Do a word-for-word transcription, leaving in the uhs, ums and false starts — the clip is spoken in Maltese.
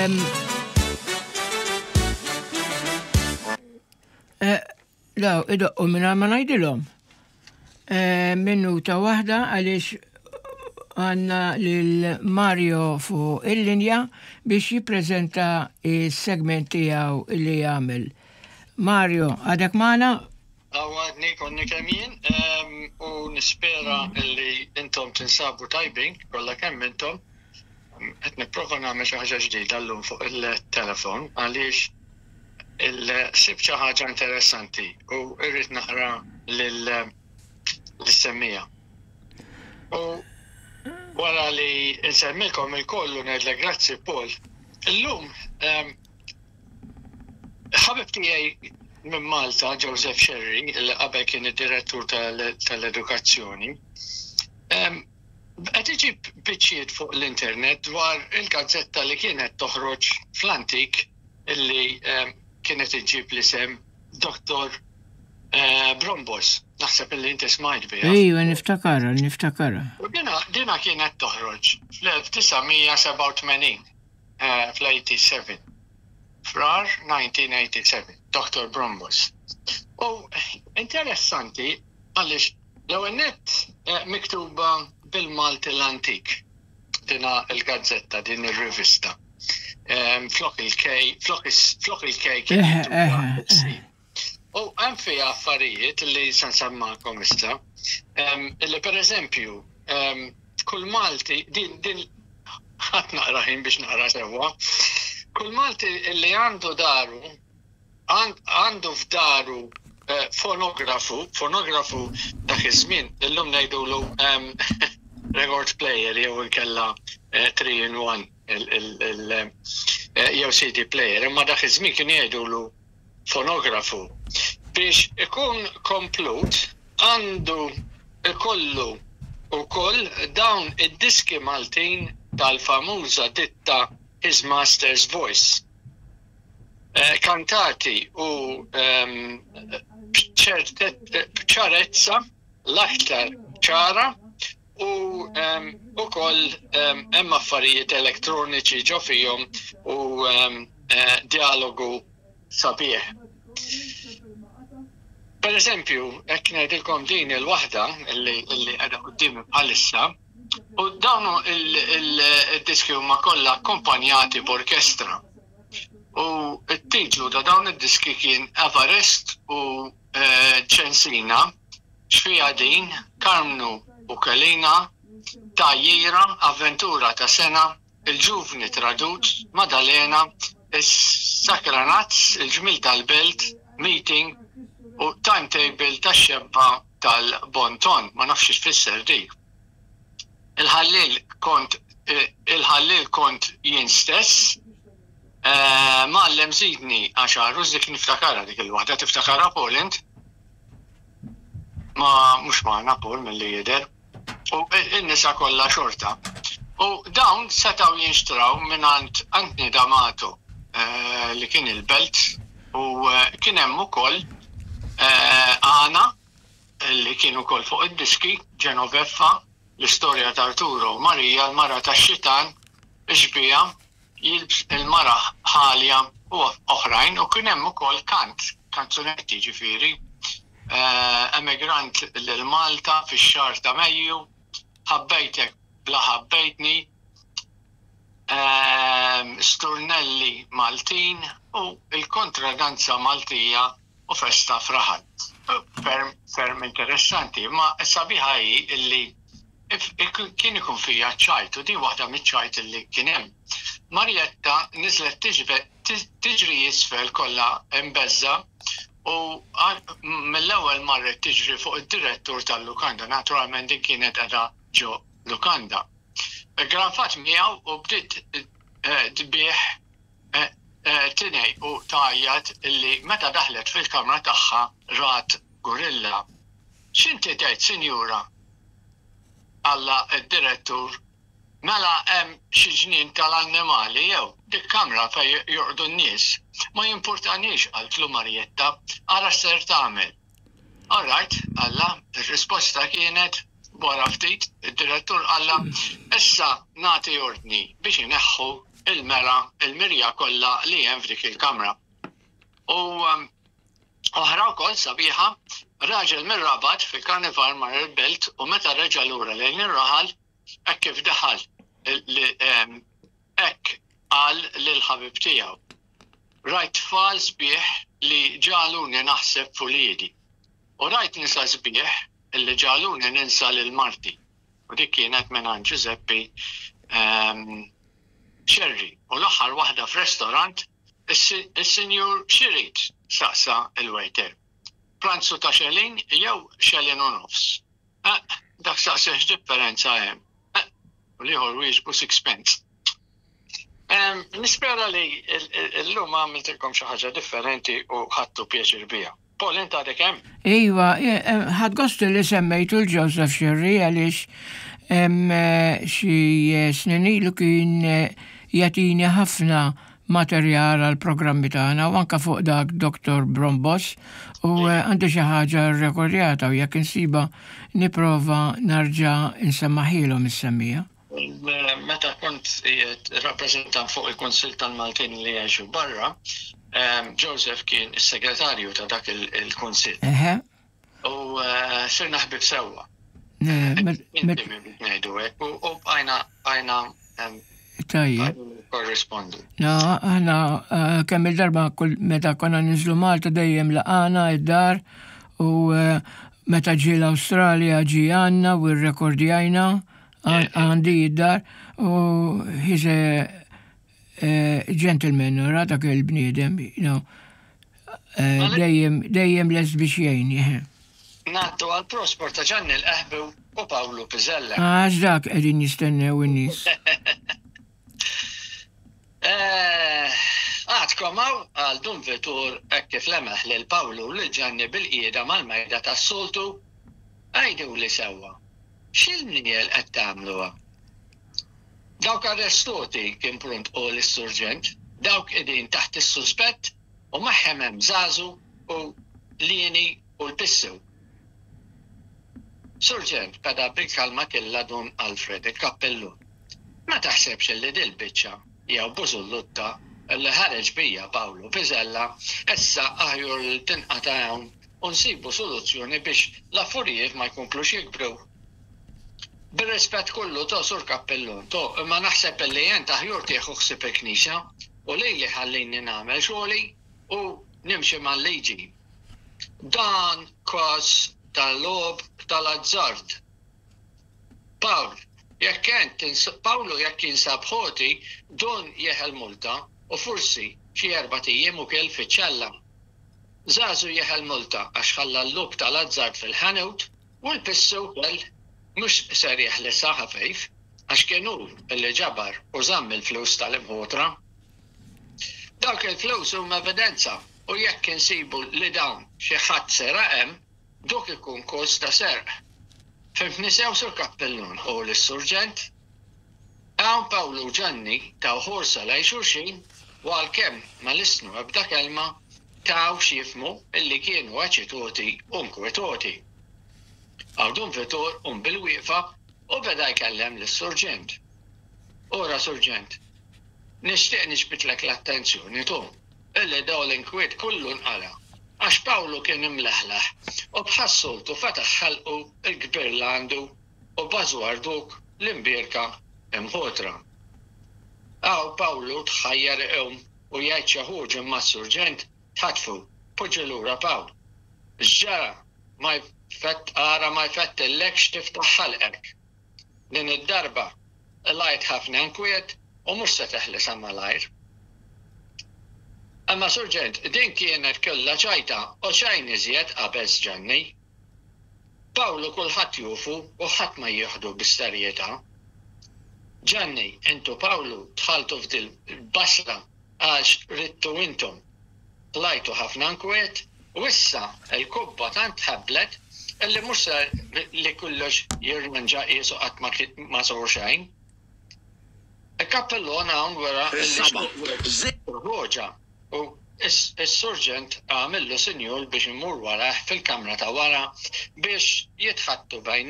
Em, eh, Daw, idoqqu minna ma ngħidilhom. Eh, Minuta waħda għaliex għandna lil Mario fuq il-linja biex jippreżenta il-segment tiegħu li jagħmel. Mario, għadek magħna? Għadni konni kemm jien em, u nispera li intom tinsabu tajbin, kollha kemm intom. Qed nipprova nagħmel xi ħaġa ġdida llum fuq il-telefon għaliex il-sibt xi ħaġa interessanti u irrid naqra lil lis-semmija. U wara li nsemmilkom il-kollu ngħidlek grazzi Paul. Illum em, ħabib tiegħi minn Malta, Joseph Sherry, li qabel kien id-direttur tal- tal-edukazzjoni, em, qed iġib biċċiet fuq l-internet dwar il-gazzetta li kienet toħroġ fl-antik illi em, kienet iġib l-isem Dr. eh, Brombos. Naħseb illi inti smajt biha. Ejwa, niftakara, niftakara. U dina, dina kienet toħroġ fl-elf disa' mija sebgħa u tmenin, eh, fl-tmienja u sebgħin. Frar elf disa' mija tmienja u sebgħin, Dr. Brombos. U interessanti għaliex l-ewwel nett eh, miktuba bil-Malti l-antik dina il-gazzetta, din il-rivista. Em, Flok il-K, flok is- flok il-K kien Eh, miktuba eh, il-C. U hemm fiha affarijiet li se nsemmakom issa. Em, Illi per eżempju, em, kull Malti, din din ħadd naqra ħin biex naqra sewwa. Kull Malti li għandu daru, għand- għandu f'daru eh, fonografu, fonografu dak iż-żmien, illum ngħidulu em, record player jew inkella three in one jew C D player, imma dak iż-żmien kien jgħidulu fonografu. Biex ikun komplut għandu ikollu ukoll dawn id-diski Maltin tal-famuża ditta His Master's Voice. Eh, kantati u ehm, b'ċarezza l-aktar ċara u um, ukoll um, hemm affarijiet elektroniċi ġo fihom u um, eh, dialogu sabiħ. Per eżempju, hekk ngħidilkom din il-waħda illi illi qiegħda quddiemi bħalissa, u dawn il-diski huma kollha akkompanjati b'orkestra. U t-titlu ta' dawn id-diski kien Everest u eh, Ċensina, Xfija Din, Karmnu u Kelina, Tajjira, Avventura ta' Sena, Il-Ġuvni Tradut, Madalena, Is-Sakranazz, Il-Ġmil tal-Belt, Meeting u Timetable ta' xebba tal-Bonton. Ma nafx x'tfisser dik. Il-ħallil kont eh, il-ħallil kont jien stess, eh, Mgħallem żidni għaxar, dik niftakara dik il-waħda, tiftakara Paul int? Ma mhux magħna Paul mill-li jidher. U in-nisa kollha xorta. U dawn setgħu jinxtraw mingħand Anthony D'Amato eh, li kien il-Belt u eh, kien hemm ukoll eh, Għana li kien ukoll fuq id-diski, Genoveffa, l-istorja ta' Arturo, Marija, l-mara ta' xitan, ixbija, jilbs il-mara ħalja u oħrajn u kien hemm ukoll kant, kanzunetti ġifieri. Eh, emigrant lil Malta fix-xahar ta' Mejju, ħabbejtek bla ħabbejtni, ehm, Sturnelli Maltin u il-kontradanza Maltija u festa f'raħal. Ferm, ferm interessanti, ma sabiħa hi illi if- ik- kien ikun fija ċajt u din waħda miċ-ċajt illi kien hemm. Marietta niżlet tiġbe- ti- tiġri isfel kollha imbeżża u għal- mill-ewwel marret tiġri fuq id-direttur tal-lukanda, naturalment din kienet qiegħda ġo lukanda. Granfat miegħu u bdiet eh, tbih eh, eh, tinej u tgħajjat illi meta daħlet fil-kamra tagħha rat gorilla. "X'inti tgħid, sinjura?" qalla d-direttur. "Mela hemm xi ġnien tal-annimali jew dik kamra fejn jorqdu n-nies?" "Ma jimpurtanix," qaltlu Marietta, "ara x'ser tagħmel." "All right," qalla. Ir-risposta kienet wara ftit, id-direttur qalla, "Issa nagħti ordni biex ineħħu il-mera, il-mirja kollha li hemm f'dik il-kamra. U um, oħra wkoll sabiħa, raġel mir-Rabat fil-karnival mar il-belt u meta reġa' lura lejn ir-raħal, hekk kif daħal hekk qal lil ħabib tiegħu. Rajt tfal sbieħ li ġagħluni naħseb f'uliedi. U rajt nisa sbieħ illi ġagħluni ninsa lil marti. U dik kienet minn Giuseppe Scerri. U l-aħħar waħda f'restorant, is-sinjur x'irid, saqsa il-waiter. Pranzu ta' xelin jew xelin u nofs. Eh, dak saqsa x'differenza hemm. Eh, u l-ieħor wieġbu sixpence. Nispera li l-lum għamiltilkom xi ħaġa differenti u ħadtu pjaċir biha. Paul, inta għadek hemm? Iva, ħadt gost li semmejtu l-Joseph Scerri għaliex xi snin ilu kien jagħtini ħafna materjal għal programmi tagħna u anka fuq dak Dottor Brombos u għandi xi ħaġa rrekordjata u jekk insiba nipprova nerġa' nsemmahielhom is-semmija. Meta kont rappresentant fuq il-Kunsill tal-Maltin li jgħixu barra, Joseph kien is-segretarju ta' dak il-Kunsill. U sirna ħbib sewwa. Ngħidu hekk u bqajna bqajna Tajjeb. Korrispondu. No, aħna kemm il-darba kull meta konna ninżlu Malta dejjem laqana id-dar u meta ġie l-Awstralja ġie għandna u rrekordjajna għandi id-dar u he's a gentleman, ra dak il-bniedem, you know, dejjem dejjem lest biex jgħin. Ngħaddu għal prosport ta' Ġanni l-Qehbi u Pawlu Pizzella. Għax dak qegħdin jistennew in-nies. Għadkom hawn, qal Dun Vitur hekk kif lemaħ lil Pawlu u lil Ġanni bilqiegħda mal-mejda tas-soltu, għiduli sewwa. X'il-mniel qed tagħmluha? Dawk arrestoti, kien pront qol is-surġent, dawk qegħdin taħt is-suspett u magħhom hemm Żażu u Lieni u l-Pissu. Surġent, beda bil-kalma killa Dun Alfred il-kappellun. Ma taħsebx li dil-biċċa jew bużullutta li ħareġ bija Pawlu Pizzella issa aħjar li tinqata' hawn u nsibu soluzzjoni biex l-affarijiet ma jkomplux jikbru. Bir-rispett kollu to sur kappellun, to, imma naħseb li jent aħjar tieħu ħsieb il-knisja u lili ħallini nagħmel xogħli u nimxi mal-liġi. Dan każ tal-logħob tal-azzard. Pawl, jekk ent Pawlu jekk jinsab ħoti, don jeħel multa u forsi xi erbat ijiem ukoll fiċ-ċella. Żażu jeħel multa għax ħalla l-logħob tal-azzard fil-ħanut u l-Pissu wkoll mhux ser jeħlisha ħafejf għax kien hu li ġabar u żamm il-flus tal-imħotra. Dawk il-flus huma evidenza u jekk insibu li dawn xi ħadd seraq hemm, dok ikun każ ta' serq. Fhimtni sew sur kappellun u l-surġent. Hawn Pawlu u Ġanni taw ħarsa lejn xulxin u għalkemm ma lissnu ebda kelma taw x'jifhmu illi kienu eċitati u nkwetati. Hawn Dun Vitur qam bil-wieqfa u beda jkellem lis-surġent. Ora surġent, nixtieq niġbidlek l-attenzjoni tu, illi daw l-inkwiet kollu nqala. Għax Pawlu kien imleħleħ u bħas-soltu fetaħ ħalqu il-kbir l għandu u bażwar duk l-imbierka imħotra. Hawn Pawlu tħajjar iqum u jgħid xi ħaġa imma s-surġent ħatfu, poġġi lura Pawl. X'ġara ma jfett ara ma jfettillekx tiftaħ ħalqek. Din id-darba qlajt ħafna nkwiet u mhux se teħlisha malajr. Imma surġent, din kienet kollha ċajta u xejn iżjed qabeż Ġanni. Pawlu kulħadd jufu u ħadd ma jieħdu bis-serjetà. Ġanni, intu Pawlu dħaltu f'dil basla għax ridtu intom. Qlajtu ħafna nkwiet u issa il-kubba tant ħablet illi mhux ser li kollox jirranġa qisu qatt ma sor xejn. Il-kappellon hawn wera illi u is-surġent għamillu sinjal biex imur warah fil-kamra ta' wara biex jitħaddtu bejniethom.